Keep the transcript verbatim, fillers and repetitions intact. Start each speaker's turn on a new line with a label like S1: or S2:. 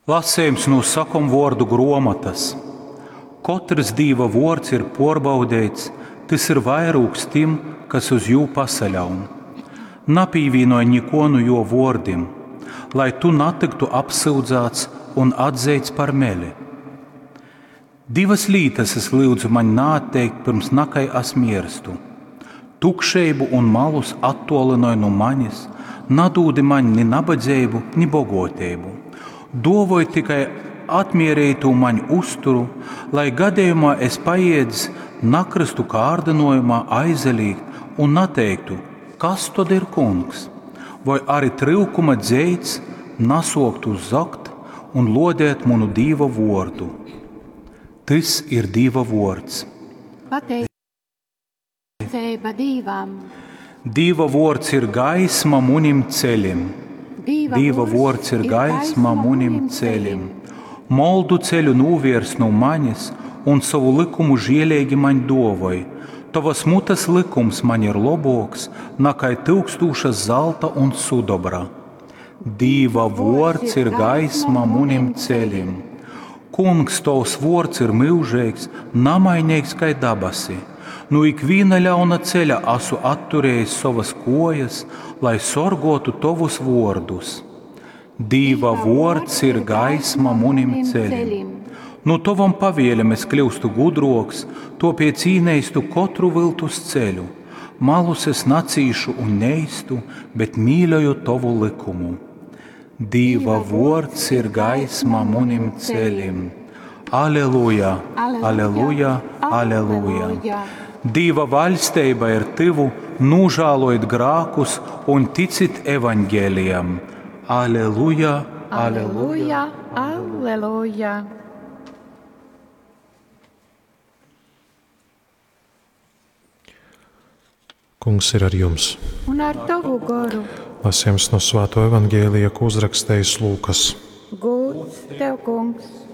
S1: Lasījums no sakomvuordu gruomotys. Kotrs Dīva vuords ir puorbaudeits, tys ir vairūgs tim, kas uz jū pasaļaun. Napīvīnoj nikuo nu juo vuordim, lai tu natyktu apsyudzāts un atzeits par meli. Divas lītas es lyudzu maņ naatteikt pirms nakai es mierstu. Tukšeibu un malus attolinoj nu manis, nadūdi maņ ni nabadzeibu, ni boguoteibu. Duovoj tikai atmierītu maņ uzturu, lai gadījumā es paiedz nakristu kārdinojumā aizalīgt un nateiktu, kas tad ir kungs, vai arī tryukuma dzeits nasoktu zagt un lodēt munu Dīva vordu. Tys ir Dīva vords.
S2: Pateicība Dīvam.
S1: Dīva vords ir gaisma munim ceļim.
S2: Dīva,
S1: Dīva vords ir gaisma munim ceļim. Moldu ceļu nūviers no manis un savu likumu žielīgi maņ dovoj. Tavas mutes likums man ir loboks, nakai tūkstūšas zelta un sudobra. Dīva vords ir gaisma munim ceļim. Kungs, tovs vords ir mūžīgs, namainīgs kai dabasi. Nu ikviena ļauna ceļa asu atturējis savas kojas, lai sorgotu tovus vārdus. Dīva vords ir gaisma munim ceļim. Nu tovam pavēlēm es kļūstu gudroks, topiec īneistu katru viltus ceļu. Malus es nacīšu un neistu, bet mīļoju tovu likumu. Dīva vords ir gaisma munim ceļim. Aleluja, aleluja, aleluja. Dīva vaļstība ir tuvu, nožēlojiet grākus un ticit evaņģēlijam. Aleluja, aleluja,
S2: aleluja.
S3: Kungs ir ar jums.
S2: Un ar tavu goru.
S3: Lasījums no Svēto evaņģēlija, ko uzrakstījis Lūkas.
S2: Gūds tev, kungs.